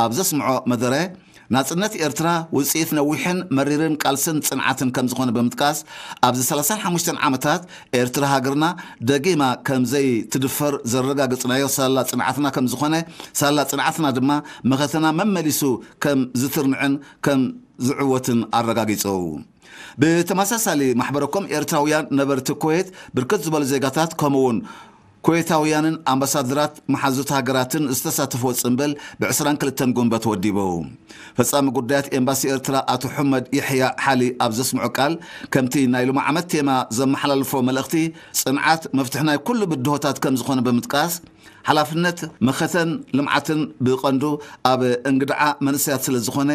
ኣብ ዘስምዖ መደረ፣ ናጽነት ኤርትራ ውጽኢት ነዊሕን መሪርን ቃልስን ጽንዓትን ከም ዝኾነ ብምጥቃስ፣ ኣብዚ ሰላሳን ሓሙሽተን ዓመታት ኤርትራ ሃገርና ደጊማ ከም ዘይትድፈር ዘረጋገጽናዮ ሳላ ጽንዓትና ከም ዝኾነ፣ ሳላ ጽንዓትና ድማ መኸተና መመሊሱ ከም ዝትርንዕን ከም ዝዕወትን ኣረጋጊጹ። ብተመሳሳሊ ማሕበረኮም ኤርትራውያን ነበርቲ ኩዌት ብርክት ዝበሉ ዜጋታት ከምኡውን ኩዌታውያንን ኣምባሳደራት መሓዙት ሃገራትን ዝተሳተፍዎ ጽምብል ብ22 ጉንበት ወዲቡ። ፈጻሚ ጉዳያት ኤምባሲ ኤርትራ ኣቶ ሑመድ የሕያ ሓሊ ኣብ ዘስምዖ ቃል፣ ከምቲ ናይ ሎሚ ዓመት ቴማ ዘመሓላልፎ መልእኽቲ፣ ጽንዓት መፍትሒ ናይ ኩሉ ብድሆታት ከም ዝኾነ ብምጥቃስ፣ ሓላፍነት መኸተን ልምዓትን ብቐንዱ ኣብ እንግድዓ መንእሰያት ስለ ዝኾነ፣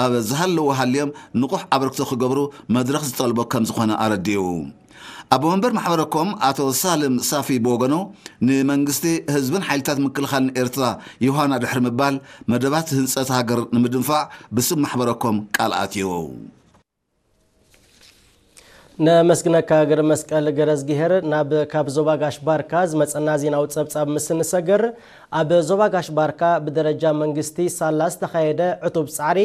ኣብ ዝሃለዎ ሃልዮም ንቑሕ ኣበርክቶ ክገብሩ መድረኽ ዝጠልቦ ከም ዝኾነ ኣረዲኡ። ኣቦ መንበር ማሕበረኮም ኣቶ ሳልም ሳፊ ብወገኑ፣ ንመንግስቲ፣ ህዝብን ሓይልታት ምክልኻልን ኤርትራ ዮሃና ድሕሪ ምባል፣ መደባት ህንጸት ሃገር ንምድንፋዕ ብስም ማሕበረኮም ቃል ኣትዩ። ነመስግነካ ገረ መስቀል ገረዝግሄር። ናብ ካብ ዞባ ጋሽ ባርካ ዝመጸና ዜናዊ ጸብጻብ ምስ ንሰግር፣ ኣብ ዞባ ጋሽ ባርካ ብደረጃ መንግስቲ ሳላ ዝተኻየደ ዕቱብ ጻዕሪ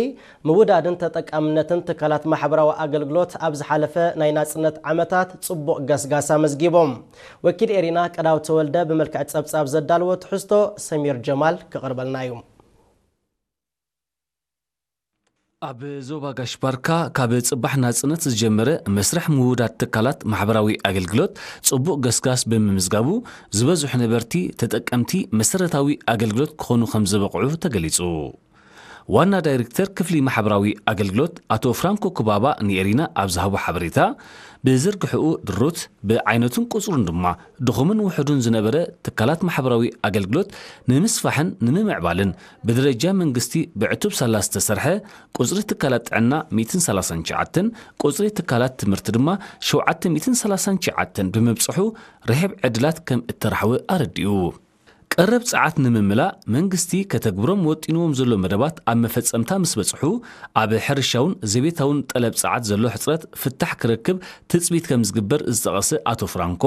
ምውዳድን ተጠቃምነትን ትካላት ማሕበራዊ ኣገልግሎት ኣብ ዝሓለፈ ናይ ናጽነት ዓመታት ጽቡቕ ገስጋስ ኣመዝጊቦም። ወኪል ኤሪና ቀዳው ተወልደ ብመልክዕ ጸብጻብ ዘዳልዎ ትሕዝቶ ሰሚር ጀማል ክቕርበልና እዩ። ኣብ ዞባ ጋሽ ባርካ ካብ ጽባሕ ናጽነት ዝጀመረ መስርሕ ምውዳድ ትካላት ማሕበራዊ ኣገልግሎት ጽቡቕ ገስጋስ ብምምዝጋቡ፣ ዝበዝሑ ነበርቲ ተጠቀምቲ መሰረታዊ ኣገልግሎት ክኾኑ ከም ዝበቕዑ ተገሊጹ። ዋና ዳይሬክተር ክፍሊ ማሕበራዊ ኣገልግሎት ኣቶ ፍራንኮ ክባባ ንኤሪና ኣብ ዝሃቦ ሓበሬታ፣ ብዝርግሕኡ ድሩት፣ ብዓይነቱን ቁጽሩን ድማ ድኹምን ውሑዱን ዝነበረ ትካላት ማሕበራዊ ኣገልግሎት ንምስፋሕን ንምምዕባልን ብደረጃ መንግስቲ ብዕቱብ ሳላ ዝተሰርሐ፣ ቁጽሪ ትካላት ጥዕና ሚእትን ሰላሳን ትሽዓተን፣ ቁጽሪ ትካላት ትምህርቲ ድማ ሸውዓተ ሚእትን ሰላሳን ትሽዓተን ብምብጽሑ፣ ርሕብ ዕድላት ከም እተራሕወ ኣረዲኡ። ቀረብ ጸዓት ንምምላእ መንግስቲ ከተግብሮም ወጢንዎም ዘሎ መደባት ኣብ መፈጸምታ ምስ በጽሑ፣ ኣብ ሕርሻውን ዘቤታውን ጠለብ ጸዓት ዘሎ ሕጽረት ፍታሕ ክረክብ ትጽቢት ከም ዝግበር ዝጠቐሰ ኣቶ ፍራንኮ፣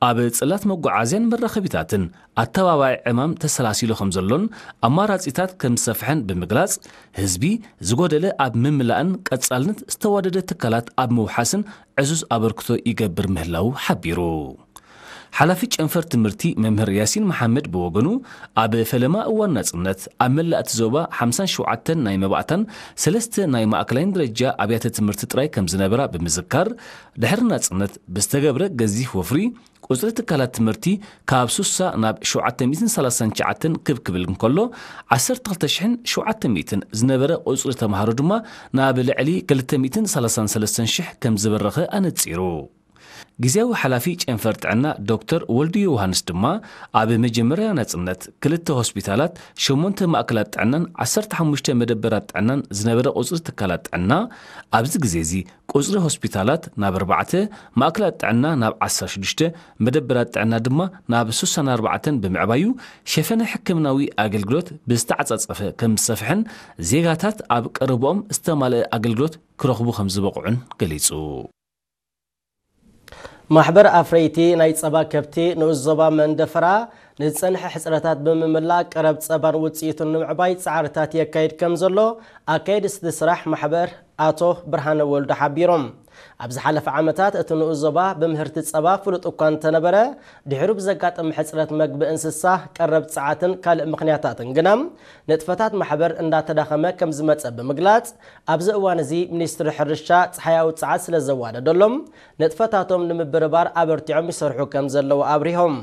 ኣብ ጽላት መጓዓዝያን መራኸቢታትን ኣተባባዒ ዕማም ተሰላሲሉ ከም ዘሎን ኣማራጺታት ከም ዝሰፍሐን ብምግላጽ፣ ህዝቢ ዝጎደለ ኣብ ምምላእን ቀጻልነት ዝተዋደደ ትካላት ኣብ ምውሓስን ዕዙዝ ኣበርክቶ ይገብር ምህላዉ ሓቢሩ። ሓላፊ ጨንፈር ትምህርቲ መምህር ያሲን መሓመድ ብወገኑ፣ ኣብ ፈለማ እዋን ናጽነት ኣብ መላእ እቲ ዞባ ሓምሳን ሸውዓተን ናይ መባእታን ሰለስተ ናይ ማእከላይን ደረጃ ኣብያተ ትምህርቲ ጥራይ ከም ዝነበራ ብምዝካር፣ ድሕሪ ናጽነት ብዝተገብረ ገዚፍ ወፍሪ ቁጽሪ ትካላት ትምህርቲ ካብ ሱሳ ናብ ሸውዓተ ሚእትን ሰላሳን ትሽዓተን ክብ ክብል እንከሎ፣ ዓሰርተ ክልተ ሽሕን ሸውዓተ ሚእትን ዝነበረ ቁጽሪ ተምሃሮ ድማ ናብ ልዕሊ ክልተ ሚእትን ሰላሳን ሰለስተን ሽሕ ከም ዝበረኸ ኣነጺሩ። ግዜያዊ ሓላፊ ጨንፈር ጥዕና ዶክተር ወልዱ ዮውሃንስ ድማ፣ ኣብ መጀመርያ ናጽነት ክልተ ሆስፒታላት፣ ሸሞንተ ማእከላት ጥዕናን ዓሰርተ ሓሙሽተ መደበራት ጥዕናን ዝነበረ ቁጽሪ ትካላት ጥዕና፣ ኣብዚ ግዜ እዚ ቁጽሪ ሆስፒታላት ናብ ኣርባዕተ፣ ማእከላት ጥዕና ናብ ዓሰርተ ሽዱሽተ፣ መደበራት ጥዕና ድማ ናብ ስሳን ኣርባዕተን ብምዕባዩ፣ ሸፈነ ሕክምናዊ ኣገልግሎት ብዝተዓጻጸፈ ከም ዝሰፍሐን ዜጋታት ኣብ ቀረብኦም ዝተማልአ ኣገልግሎት ክረኽቡ ከም ዝበቕዑን ገሊጹ። ማሕበር ኣፍረይቲ ናይ ጸባ ከብቲ ንኡስ ዞባ መንደፈራ ንዝጸንሐ ሕጽረታት ብምምላእ ቀረብ ጸባን ውጽኢቱን ንምዕባይ ጻዕርታት የካይድ ከም ዘሎ ኣካየድቲ ስራሕ ማሕበር ኣቶ ብርሃነ ወልዱ ሓቢሮም። ኣብ ዝሓለፈ ዓመታት እቲ ንኡስ ዞባ ብምህርቲ ጸባ ፍሉጥ እኳ እንተነበረ፣ ድሕሩ ብዘጋጠመ ሕጽረት መግቢ እንስሳ፣ ቀረብ ጸዓትን ካልእ ምኽንያታትን ግና ንጥፈታት ማሕበር እንዳተዳኸመ ከም ዝመጸ ብምግላጽ፣ ኣብዚ እዋን እዚ ሚኒስትሪ ሕርሻ ጸሓያዊ ጸዓት ስለ ዘዋደደሎም፣ ንጥፈታቶም ንምብርባር ኣበርቲዖም ይሰርሑ ከም ዘለዉ ኣብሪሆም።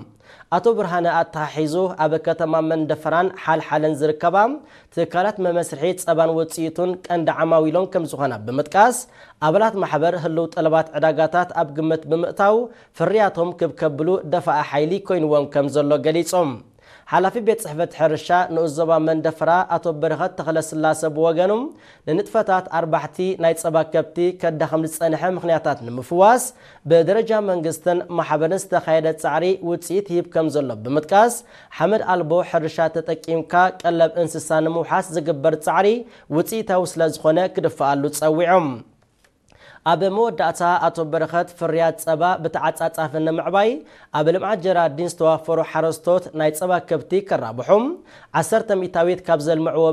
ኣቶ ብርሃነ ኣተሓሒዙ፣ ኣብ ከተማ መንደፈራን ሓልሓለን ዝርከባ ትካላት መመስርሒ ጸባን ውጽኢቱን ቀንዲ ዓማዊሎም ከም ዝኾና ብምጥቃስ፣ ኣባላት ማሕበር ህልው ጠለባት ዕዳጋታት ኣብ ግምት ብምእታው፣ ፍርያቶም ክብ ከብሉ ደፋኢ ሓይሊ ኮይንዎም ከም ዘሎ ገሊጾም። ሓላፊ ቤት ጽሕፈት ሕርሻ ንኡስ ዞባ መንደፈራ ኣቶ በረኸት ተኽለስላሰ ብወገኑ፣ ንንጥፈታት ኣርባሕቲ ናይ ጸባ ከብቲ ከዳኽም ዝጸንሐ ምኽንያታት ንምፍዋስ፣ ብደረጃ መንግስትን ማሕበርን ዝተኻየደ ጻዕሪ ውጽኢት ይህብ ከም ዘሎ ብምጥቃስ፣ ሓመድ ኣልቦ ሕርሻ ተጠቂምካ ቀለብ እንስሳ ንምውሓስ ዝግበር ጻዕሪ ውጽኢታዊ ስለ ዝኾነ ክድፍኣሉ ጸዊዖም። ኣብ መወዳእታ ኣቶ በረኸት፣ ፍርያት ጸባ ብተዓጻጻፊ ንምዕባይ ኣብ ልምዓት ጀራዲን ዝተዋፈሩ ሓረስቶት ናይ ጸባ ከብቲ ከራብሑ፣ ዓሰርተ ሚእታዊት ካብ ዘልምዕዎ